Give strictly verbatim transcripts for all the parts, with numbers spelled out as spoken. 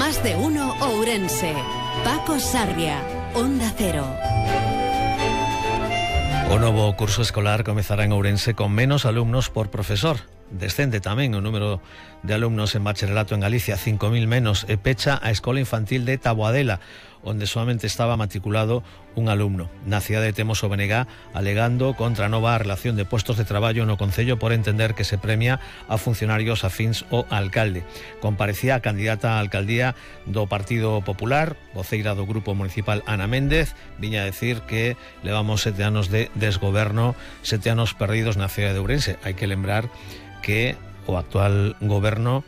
Más de uno Ourense. Paco Sarria, Onda Cero. O novo curso escolar comezará en Ourense con menos alumnos por profesor. Descende tamén o número de alumnos en bacharelato en Galicia, cinco mil menos, e pecha a escola infantil de Taboadela, onde solamente estaba matriculado un alumno. Na cidade de Temos o B N G alegando contra a nova relación de puestos de traballo no Concello por entender que se premia a funcionarios afíns ao alcalde. Comparecía a candidata á alcaldía do Partido Popular, voceira do Grupo Municipal Ana Méndez, viña a decir que levamos sete anos de desgoberno, sete anos perdidos na cidade de Ourense. Hai que lembrar que o actual goberno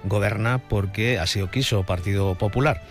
goberna porque así o quiso o Partido Popular.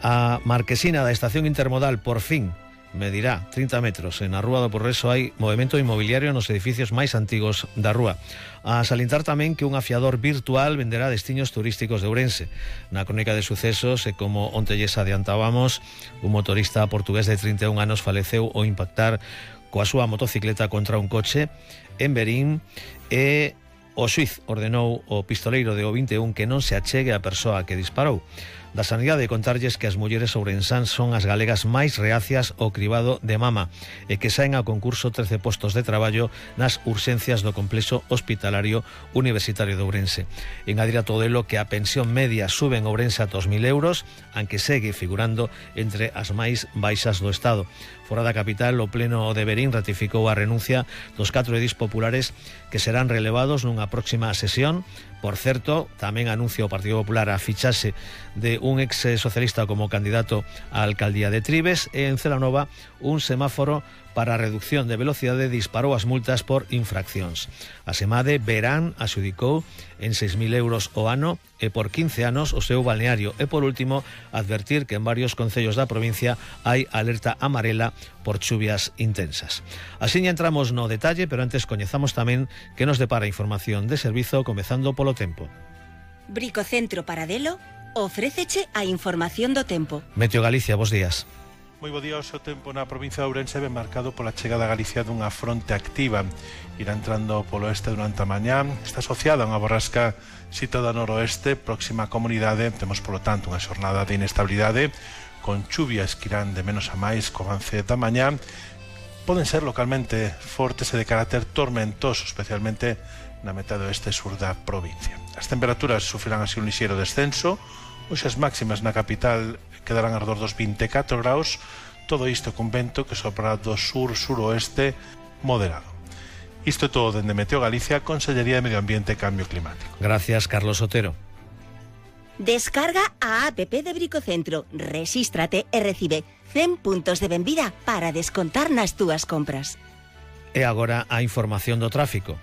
A marquesina da estación intermodal por fin medirá trinta metros. En a Rúa do Progreso hai movimento inmobiliario nos edificios máis antigos da rúa. A salientar tamén que un afiador virtual venderá destinos turísticos de Ourense. Na crónica de sucesos, e como onte lles adiantábamos, un motorista portugués de trinta e un anos faleceu ao impactar coa súa motocicleta contra un coche en Verín, e o xuiz ordenou ao pistoleiro de O vinte e un que non se achegue a persoa que disparou. Da sanidade contarlles que as mulleres ourensáns son as galegas máis reacias ao cribado de mama e que saen a concurso trece postos de traballo nas urxencias do complexo hospitalario universitario de Ourense. Engadir a todo elo que a pensión media sube en Ourense a dos mil euros, aunque segue figurando entre as máis baixas do Estado. Fora da capital, o Pleno de Verín ratificou a renuncia dos catro edís populares que serán relevados nunha próxima sesión. Por certo, tamén anuncia o Partido Popular a fichaxe de un ex socialista como candidato á alcaldía de Tribes, e en Celanova un semáforo para a reducción de velocidade disparou as multas por infraccións. A SEMADE verán axudicou en seis mil euros o ano e por quince anos o seu balneario. E por último, advertir que en varios concellos da provincia hai alerta amarela por chuvias intensas. Así entramos no detalle, pero antes coñezamos tamén que nos depara información de servizo, comezando polo tempo. Bricocentro Paradelo ofréceche a información do tempo. Meteo Galicia, bos días. Moi bo día. O seu tempo na provincia de Ourense ven marcado pola chegada a Galicia dunha fronte activa. Irá entrando polo oeste durante a mañá. Está asociada a unha borrasca situada no noroeste, próxima á comunidade. Temos, polo tanto, unha xornada de inestabilidade, con chuvias que irán de menos a máis co avance da mañá. Poden ser localmente fortes e de carácter tormentoso, especialmente na metade oeste e sur da provincia. As temperaturas sufrirán así un lixeiro descenso. Hoxe as máximas na capital quedarán alrededor dos vinte e catro graus, todo isto con vento que sopra do sur-suroeste moderado. Isto é todo dende Meteo Galicia, Consellería de Medio Ambiente e Cambio Climático. Gracias, Carlos Otero. Descarga a app de Bricocentro, resístrate e recibe cen puntos de benvida para descontar nas túas compras. E agora a información do tráfico.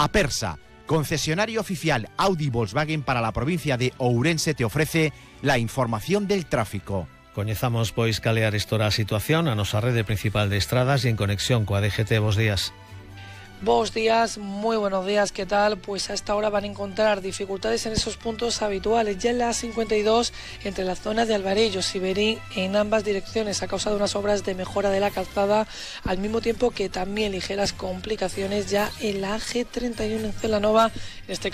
Apersa, concesionario oficial Audi Volkswagen para la provincia de Ourense, te ofrece la información del tráfico. Coñezamos, pois, cal é a arestora a situación a nosa rede principal de estradas e en conexión coa D G T. Bos días. Buenos días, muy buenos días, ¿qué tal? Pues a esta hora van a encontrar dificultades en esos puntos habituales. Ya en la A cincuenta y dos, entre la zona de Alvarellos y Verín, en ambas direcciones, a causa de unas obras de mejora de la calzada, al mismo tiempo que también ligeras complicaciones ya en la A G treinta y uno en Celanova, en este caso